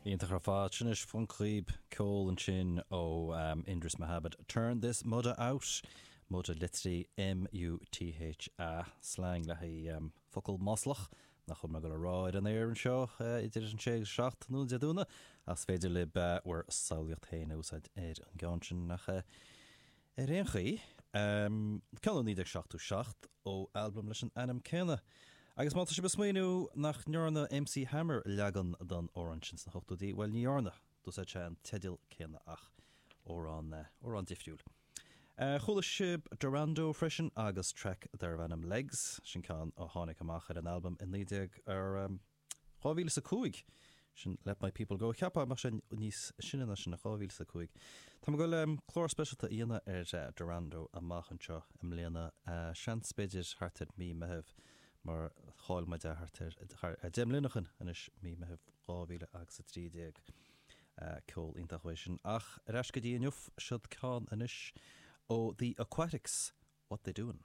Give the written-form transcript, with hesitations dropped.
Iontach ar fad. Sin anois phonc dhaoib ceol ansin ó Endris Mahabad, Turn This Mutha Out, Mutha litrithe M-U-T-H-A, slang le haghaidh focal maslach nach bhfuil mé ag dul a rá ar an aer anseo idir an sé agus 7 tráthnóna Dé Domhnaigh, ach is féidir libh bhur samhlaíocht féin a úsáid ar an gceann sin ach ar aon chaoi, ceann ó 1977 ó albam leis an ainm céanna. Agus má tá sibh ag smaoineamh nach ndearna MC Hammer leagan den amhrán sin sna hochtóidí, bhuel ní dhearna, d'úsáid sé an teideal céanna ach amhrán, amhrán difriúil. Chuala sibh Dorando freisin agus traic darbh ainm Legs, sin ceann a tháinig amach ar an albam i 19, ar 2005, sin Let My People Go. Cheapfá go mbeadh sé níos sine ná sin, 2005. Tá mé ag dul clár speisialta a dhéanamh ar Dorando amach anseo i mbliana, seans b'fhéidir thart ar mí Meitheamh mar chaill muid é thart ar 10 mbliana ó shin anois, mí Meitheamh 2013. Ceol iontach uaidh sin. Ach ar ais go dtí inniu, seod ceann anois ó The Aquatics, What They Doin'.